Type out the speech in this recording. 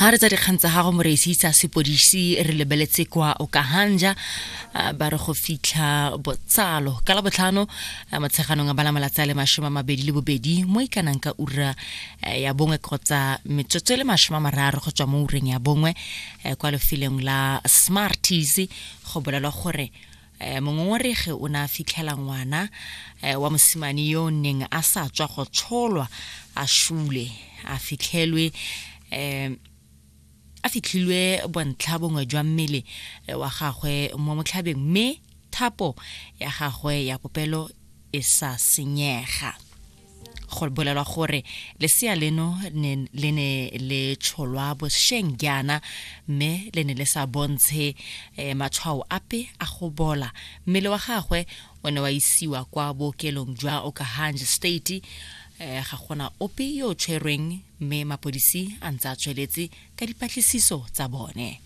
Ha re tsa dikgang tsa gago moreisi tsa sepodisi re lebeletse kwa Okahanja, ba re go fitlha botsalo ka la botlhano motsheganong a bala malatsi a le 22 mo ikanang ka ura ya bongwe kgotsa metsotso e le 30 go tswa mo ureng ya bongwe kwa lefelong la Smarties. Go bolelwa gore mongongoregi o ne a fitlhela ngwana wa mosimane yo o neng a sa tswa go tsholwa a shule, a fitlhelwe a fitlhilwe bontlha bongwe jwa mmele wa gagwe mo motlhabeng, mme thapo ya gagwe ya popelo e sa senyega. Go bolelwa gore lesea leno le ne le tsholwa bosheng jaana, mme le ne le sa bontshe matshwao ape a go bola. Mmele wa gagwe o ne wa isiwa kwa bookelong jwa Okahandja State. Ga gona ope yo o tshwerweng, mme mapodisi a ntse a tsweletse ka dipatlisiso tsa bone.